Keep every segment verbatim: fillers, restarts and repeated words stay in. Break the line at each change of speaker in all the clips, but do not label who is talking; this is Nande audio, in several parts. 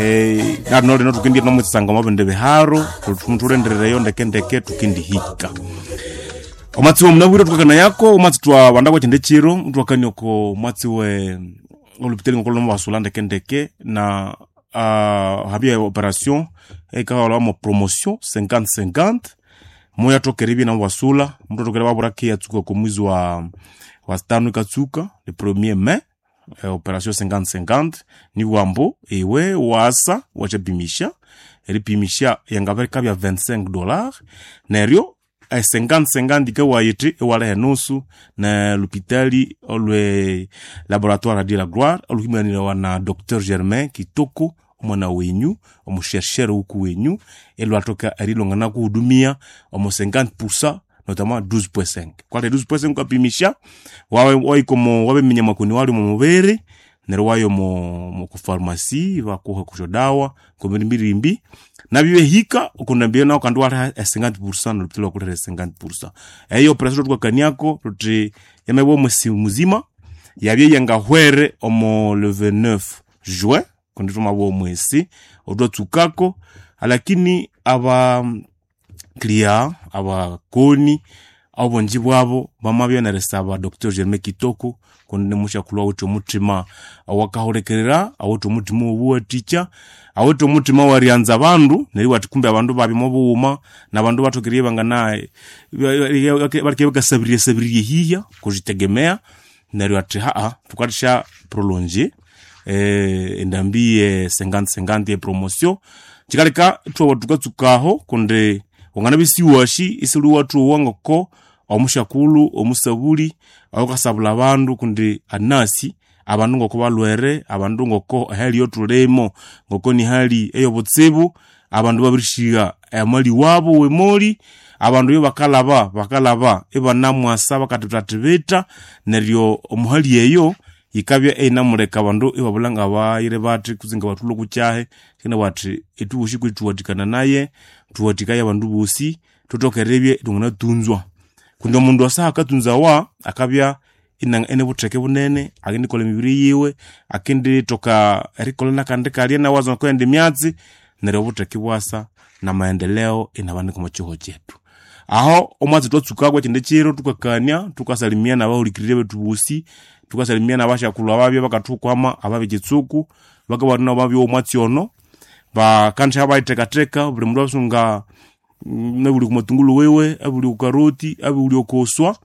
eh nalo lino tukindi nomutsanga mabende biharo tulenderereyo ndeke ndeke tukindihika omwatsi wa munabwire tukakana yako omwatsi twa bandako chinde chiro twakanioko omwatsi we olupitali ngokolo mubasula ndeke ndeke na uh, habia operation ekaholwa mo promotion cinquante cinquante moya tokere bina mubasula mndu atokere babura ke yatsuka ko mwezi wa wa tano ikatsuka le premier mai eh, operation cinquante cinquante ni wambo ewe wasa wachapimisha eripimisha yangabereka bya vingt-cinq dollars neryo eh, cinquante cinquante ikawayiti ewaleha enusu na lupitali olwe laboratoire de la gloire oluhimanirewa na Docteur Germain Kitoko omwana wenyu omushershere wuku wenyu elwatoka erilongana kuhudumia omo cinquante pour cent notamment douze point cinq kwale douze point cinq ukapimisha wawe waikomo wabeminya makoni wali mu mubiri neryo wayo mu mu kufarmasi bakuha kusho dawa kumirimbirimbi nabyo hika ukundambia nao kandi wali cinquante pour cent nolupitali wakulera cinquante pour cent eyo operation tukakaniako tuti yamebwa omusi muzima yabye yangahwere omo le vingt-neuf juin kundi tumabwa omwesi otwatsukako lakini aba clia abakoni obungi bwabo bamabya nerisaba Docteur Germain Kitoko kundi nimushakulwa awithe omuthima awakahulikirira awithe omuthima owobuwathikya awithe omuthima waryanza abandu neryo iwathi kumbe abandu babya mobughuma nabandu bathokerie bangana balike bakasabirya sabirirya ehiya kuzitegemea neryo athi haa thukathasya prolonge eh, endambi ye cinquante cinquante ye promotion kikaleka ithwaba tukatsukaho kundi wanganabya isiwashi isili wathuwa ngoko omushakulhu omusabuli oyukasabula abandu kundi anasi abandu ngoko balwere abandu ngoko ehali eyotulimo ngoko nihali eyobutsibu abandu babirishigha amali wabo wemoli abandu iyo bakalaba bakalaba ibanamwasa bakathitatibita neryo omuhali eyo yikabya einamuleka abandu ibabulha ngabayire bathi kutse ngabathulha okukyahi kina bathi ithubosi kwithuwathikana naye thuwathikaye abandu bosi thuthoke eribya ithwanganatunzwa kundi omundu asa akatunzawa akabya ine butheke bunene akendikolha emibiri yiwe akendithoka erikolha nakandi kalya nawaza okwendi emyatsi neryo obutheke ibwasa namaendeleo inabanika omo kihugho kyethu aho omwatsi twatsukako ekindi kiro thukakania thukasalimia nabahulikiriri bethu bosi thukasalimia nabashakulhu ababya bakathukwama ababya ekitsuku bakabana nabo babya omwatsi ono bakandisha bayithekatheka buli mundu asunga abuli kumatungulu wiwe abuli kukaroti abuli okoswa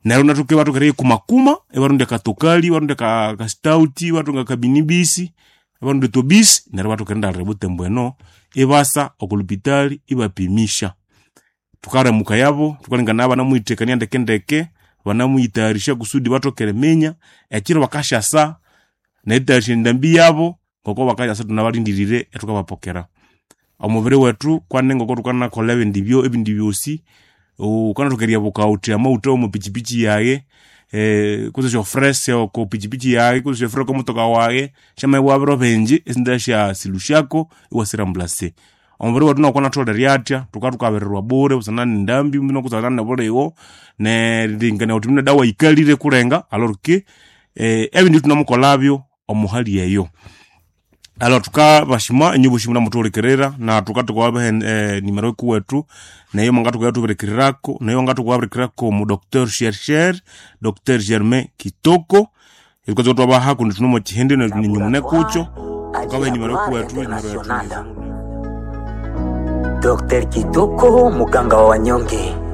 neryo nathuke bathoka eriyikumakuma ibarondya akatokali ibarondya ka kastauti ibathunga akabinibisi ibarondya etobisi neryo bathoka erindalira ebutembo eno ibasa okulupitali ibapimisha thukaremuka yabo thukalengana banamuyithekania ndekendeke banamuyitayarisha kusudi bathoke eriminya ekiro bakasyasa neritayarisha endambi yabo ngoko bakasyasa thunabalindirire ethukabapokera omubiri wethu kwane ngoko thukanakolha ebindi byo ebindi byosi wukanathoka eryabuka wuthi amawutha omo pichipichi yaye eh, kutse syofrese oko pichipichi yaye kutse syofrese oko motoka waye syamabya biro bingi esinda syasilusyako iwasirambulase omubiri wethu noko natholere atya thukathukabirirwa bure busana nendambi nokusana nebuliwo nerilengekania wuthi mune dawa yikalire kulenga alors que eh, ebindi thunamukolhabyo omuhali eyo alors thukabashima inyu bosi munamuthuhulikirira na thukathukabaha eh, nimero ikuwethu neyo mwangathuka nayo wangathuka mu Docteur chercheur Docteur Germain Kitoko itukaza twabaha kundi thunomo kihindi ninyumune kucho tukabaha nimero ikuwethu nimero yetu
Docteur Kitoko, muganga wa wanyonge.